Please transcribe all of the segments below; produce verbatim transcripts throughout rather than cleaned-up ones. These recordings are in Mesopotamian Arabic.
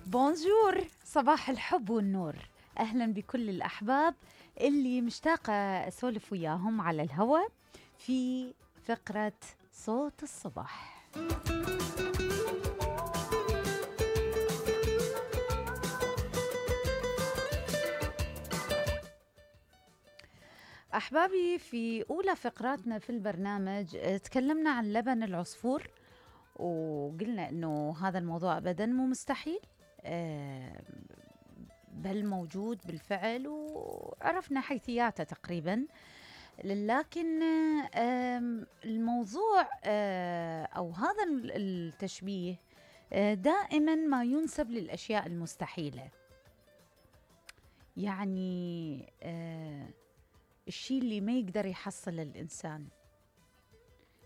بونجور، صباح الحب والنور. أهلا بكل الأحباب اللي مشتاقة أسولف وياهم على الهواء في فقرة صوت الصباح. أحبابي، في أولى فقراتنا في البرنامج تكلمنا عن لبن العصفور، وقلنا أنه هذا الموضوع أبداً مو مستحيل، بل موجود بالفعل، وعرفنا حيثياته تقريباً. لكن الموضوع أو هذا التشبيه دائماً ما ينسب للأشياء المستحيلة، يعني الشيء اللي ما يقدر يحصل الإنسان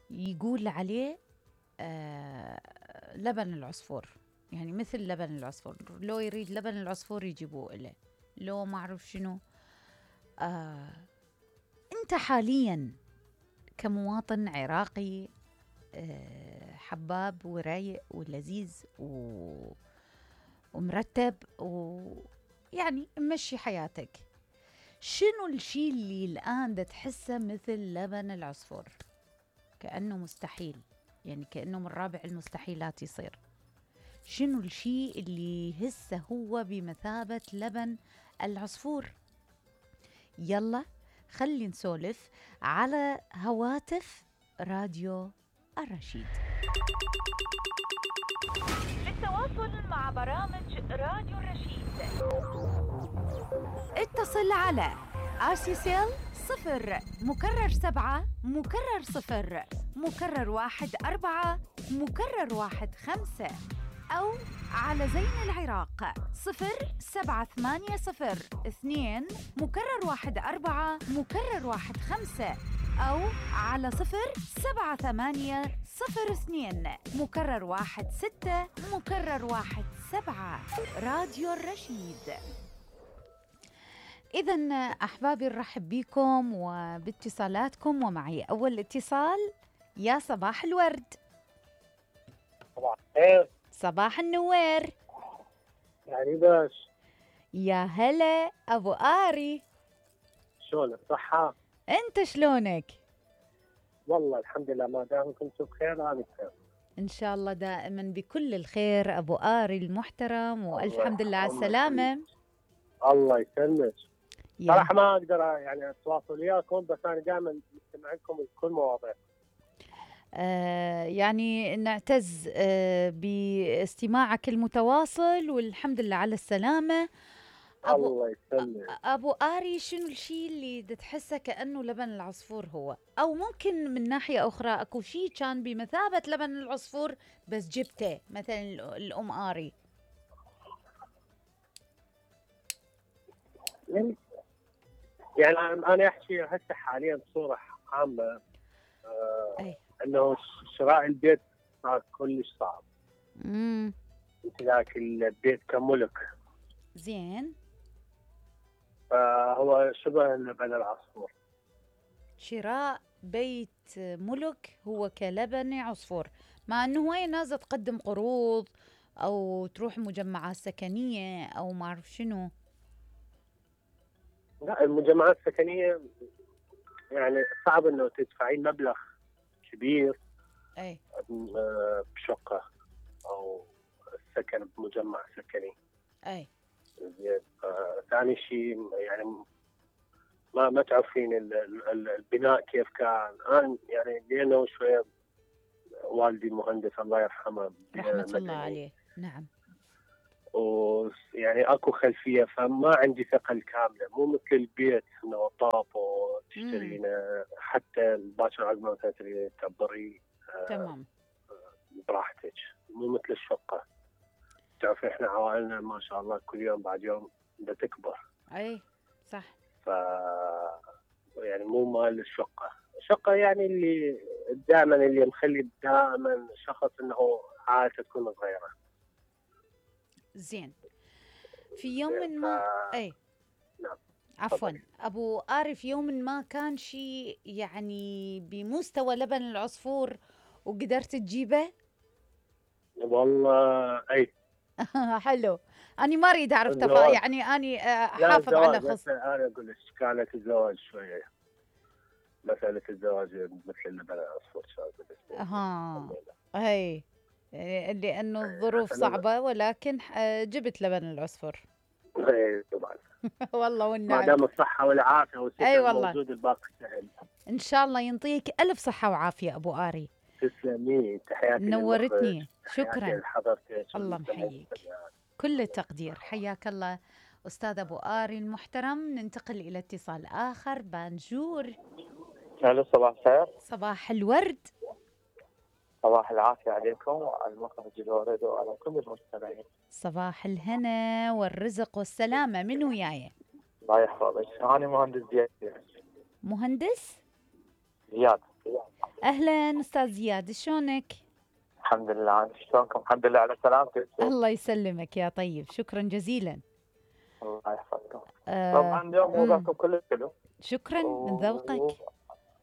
يقول عليه لبن العصفور. يعني مثل لبن العصفور، لو يريد لبن العصفور يجيبوه إله، لو ما أعرف شنو. آه أنت حالياً كمواطن عراقي آه حباب ورايق ولذيذ و... ومرتب ويعني مشي حياتك، شنو الشيء اللي الآن دا تحسه مثل لبن العصفور؟ كأنه مستحيل، يعني كأنه من رابع المستحيلات يصير. شنو الشيء اللي يهسه هو بمثابة لبن العصفور؟ يلا خلي نسولف على هواتف راديو الرشيد. للتواصل مع برامج راديو الرشيد اتصل على آسيسيل صفر مكرر سبعة مكرر صفر مكرر واحد أربعة مكرر واحد خمسة، أو على زين العراق صفر سبعة ثمانية صفر اثنين مكرر واحد أربعة مكرر واحد خمسة، أو على صفر سبعة ثمانية صفر اثنين مكرر واحد ستة مكرر واحد سبعة. راديو الرشيد. إذن أحبابي، نرحب بكم وباتصالاتكم، ومعي أول اتصال. يا صباح الورد. صباح الخير. صباح النوير. يعني باش يا هلا أبو آري، شلونك؟ صحة؟ أنت شلونك؟ والله الحمد لله، ما دام كنتوا بخير أنا بخير إن شاء الله دائما بكل الخير أبو آري المحترم، وألف حمد لله على السلامة. الله يسلمك. صراحة ما أقدر يعني أتواصل وياكم، بس أنا دائما مستمع لكم بكل مواضيع. آه يعني نعتز آه باستماعك المتواصل، والحمد لله على السلامة. أبو الله يسلمك. أبو آري، شنو الشيء اللي تحسه كأنه لبن العصفور هو؟ أو ممكن من ناحية أخرى أكو شيء كان بمثابة لبن العصفور بس جبته، مثلا الأم آري. يعني أنا أحكي هسه حاليا بصورة عامة، آه أي. أنه شراء البيت صار كلش صعب. امم امتلاك البيت كملك. زين. فهو شبه لبن العصفور. شراء بيت ملك هو كلبن عصفور، مع أنه هواي ناس تقدم قروض أو تروح مجمعات سكنية أو ما أعرف شنو. لا، المجمعات السكنية يعني صعب أنه تدفعين مبلغ كبير أي. بشقة أو سكن بمجمع سكني. أي. زين. ثاني شيء يعني ما ما تعرفين البناء كيف كان. أنا يعني لأنه شوية والدي مهندس الله يرحمه رحمة الله عليه. نعم. ويعني اكو خلفيه، فما عندي ثقه الكامله، مو مثل البيت انه طاب وتشترينه حتى باكر عقب ما تشتري تكبري تمام براحتك، مو مثل الشقه. تعرفي احنا عوائلنا ما شاء الله كل يوم بعد يوم بدها تكبر. اي صح. ف يعني مو مال الشقه. الشقه يعني اللي دائما اللي مخلي دائما شخص انه عائلته تكون صغيره. زين. في يوم ما ف... اي نعم عفوا ابو آري، في يوم ما كان شيء يعني بمستوى لبن العصفور وقدرت تجيبه؟ والله اي حلو. أنا ما أريد أعرف تفا الزواج. يعني أني آه، لا أحافظ على الزواج خص. هسه انا اقول لك كانت الزواج شويه مساله الزواج مثل اللبن العصفور صار بالنسبه لي. ها هي آه، لأنه الظروف عشان صعبة، ولكن آه، جبت لبن العصفور. اي طبعا والله ما والنعم. دام الصحه والعافيه أي والستر والله. موجود الباقي سهل. إن شاء الله ينطيك ألف صحة وعافية أبو آري. تسلمي، تحياتي للمخرج، نورتني، تحياتي شكرا. لحضرتك الله والمستمعين محييك، والمستمعات. كل التقدير، حياك الله أستاذ أبو آري المحترم. ننتقل إلى اتصال آخر. بانجور. الو صباح الخير. صباح الورد. صباح العافية عليكم وعلى المخرج الورد وعلى كل المستمعين. صباح الهنا والرزق والسلامة. من وياي؟ الله يحفظك. أنا مهندس زياد. مهندس زياد. أهلا أستاذ زياد، شلونك؟ الحمد لله. أنت شلونكم؟ الحمد لله على سلامتك. الله يسلمك يا طيب، شكرا جزيلا. الله يحفظكم. آه طبعا اليوم موضوعكم كله حلو. شكرا من ذوقك.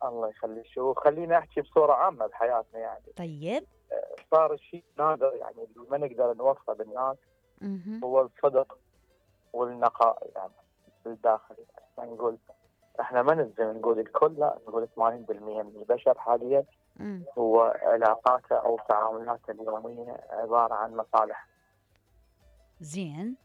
الله يخليك. وخليني أحكي بصورة عامة بحياتنا يعني. طيب. صار الشيء نادر يعني اللي ما نقدر نوصله بالناس مهم. هو الصدق والنقاء يعني بالداخل. يعني نقول احنا ما نلزم نقول الكل، لا نقول ثمانين بالمئة من البشر حاليا مم. هو علاقاته او تعاملاته اليوميه عباره عن مصالح. زين.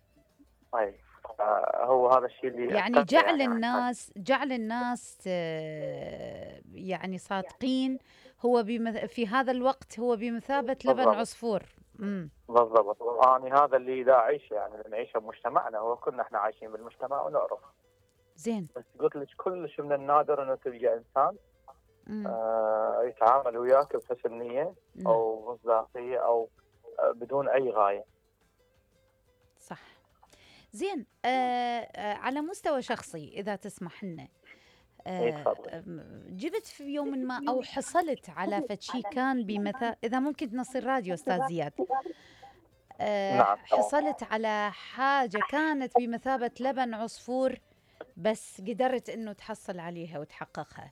طيب آه، هو هذا الشيء اللي يعني أثر جعل يعني الناس جعل الناس آه، يعني صادقين. هو بمث... في هذا الوقت هو بمثابة لبن بالضبط. عصفور. امم بالضبط. انا هذا اللي دا اعيشه يعني نعيشه بمجتمعنا، وكلنا احنا عايشين بالمجتمع ونعرف. زين. بس قلت لك كلش من النادر انه تلقى انسان مم. آه يتعامل وياك بحسن نيه نعم. او مصداقيه او آه بدون اي غايه. صح. زين. آه آه على مستوى شخصي إذا تسمح لنا، إيه، آه تفضل. آم، جبت في يوم ما أو حصلت على فشي كان بمثابة، إذا ممكن تنصي الراديو أستاذ زياد، آه نعم. حصلت على حاجة كانت بمثابة لبن عصفور بس قدرت إنه تحصل عليها وتحققها.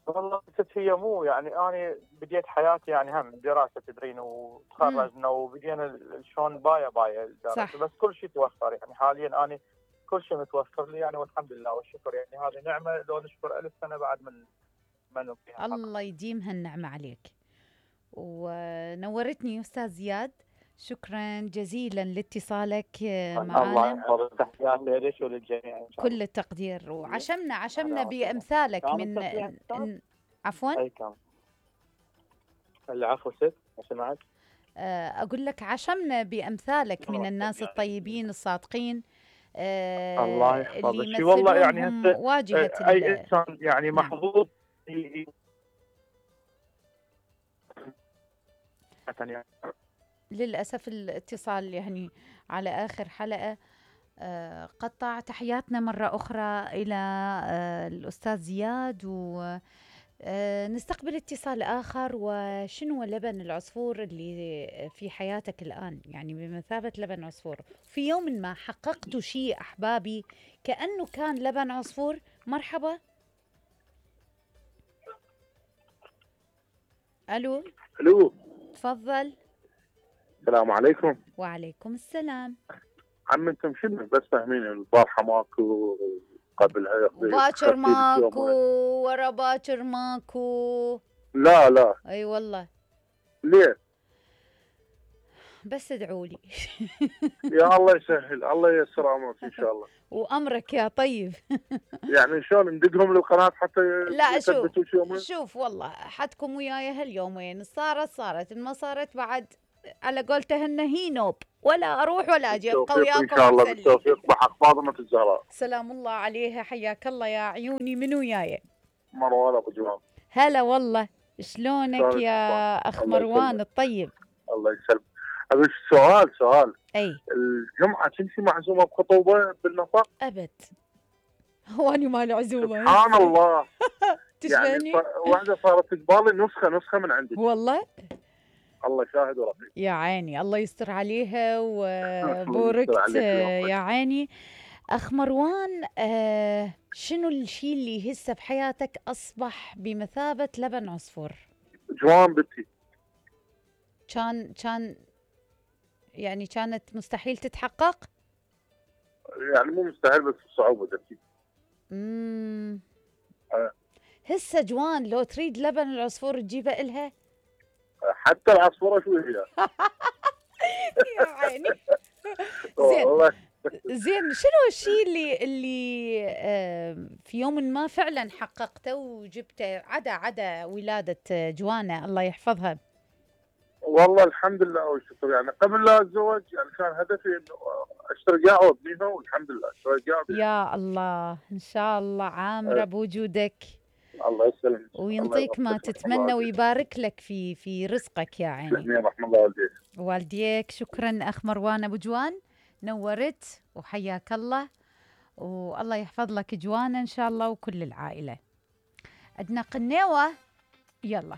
والله ست هي مو يعني انا بديت حياتي يعني هم دراسه تدرين وتخرجنا وبدينا ال- شلون بايا بايا الدراسه. صح. بس كل شيء توفر يعني حاليا انا كل شيء متوفر لي يعني والحمد لله والشكر يعني هذه نعمه لو نشكر ألف سنه بعد من ما نبقيها. الله يديمها النعمة عليك، ونورتني أستاذ زياد. شكرا جزيلا لاتصالك الله معنا. يحفظك. تحياتي لك وللجميع ان شاء الله. كل التقدير، وعشمنا عشمنا الله بأمثالك كان من التصريح ن- عفوا. اي كان. العفو ست ما سمعت. آه، أقول لك عشمنا بأمثالك من الناس الطيبين الصادقين، آه، الله اللي يحفظك. والله يعني يمثلونهم هسه واجهة اي ال- انسان يعني نعم. محظوظ ي- ي- يعني للأسف الاتصال يعني على آخر حلقة آه، قطع. تحياتنا مرة أخرى إلى آه، الأستاذ زياد، ونستقبل اتصال آخر. وشنو هو لبن العصفور اللي في حياتك الآن، يعني بمثابة لبن عصفور في يوم ما حققتوا شيء أحبابي كأنه كان لبن عصفور؟ مرحبا. ألو. الو تفضل. السلام عليكم. وعليكم السلام. عم انتم شنو بس فاهمين البارحه ماكو قبلها يقضي باكر خفيف ماكو يومين. ورا باكر ماكو. لا لا اي والله. ليه؟ بس ادعوا لي. يا الله يسهل، الله ييسر امرك ان شاء الله. وامرك يا طيب. يعني شلون ندقهم للقناه حتى لا شوف يثبتوا شي يومين؟ شوف والله حدكم وياي هاليومين، صارت صارت ما صارت بعد، على قولتهن هي نوب، ولا اروح ولا اجي، ابقى بالتوفيق ان وياكم شاء الله، وأسلي. بالتوفيق بحق فاطمه الزهراء. سلام الله عليها، حياك الله يا عيوني. من وياي؟ مروان ابو جمال. هلا والله، شلونك شلونك يا اخ الله مروان يسلمك. الطيب؟ الله يسلمك. ابي سؤال سؤال اي الجمعه كنتي معزومه بخطوبه بالنفق؟ ابد. هو اني مال عزومه سبحان الله. تشبهني يعني ف- واحده صارت تقبالي نسخه نسخه من عندك. والله. الله شاهد ورقيب. يا عيني الله يستر عليها الله وبوركت يستر عليك آه، ويوفقك. يا عيني. أخ مروان، آه شنو الشيء اللي هسه بحياتك أصبح بمثابة لبن عصفور؟ جوان بنتي. كان كان يعني كانت مستحيل تتحقق؟ يعني مو مستحيل بس بصعوبه اكيد. امم آه. هسه جوان لو تريد لبن العصفور تجيبه إلها؟ حتى العصفوره شو هي؟ يا عيني. زين والله زين شنو الشيء اللي اللي آه، في يوم ما فعلا حققته وجبته عدا عدا ولادة جوانا الله يحفظها؟ والله الحمد لله والشكر. يعني قبل لا اتزوج يعني كان هدفي انه اشتري قاع وابنيها، والحمد لله اشتري قاع. يا الله ان شاء الله عامرة بوجودك، الله يسلمك وينطيك ما تتمنى ويبارك لك في في رزقك يا عيني. رحم الله والديك. والديك. شكرا اخ مروان ابو جوان، نورت وحياك الله، والله يحفظ لك جوانا ان شاء الله وكل العائله. عندنا قنيوه، يلا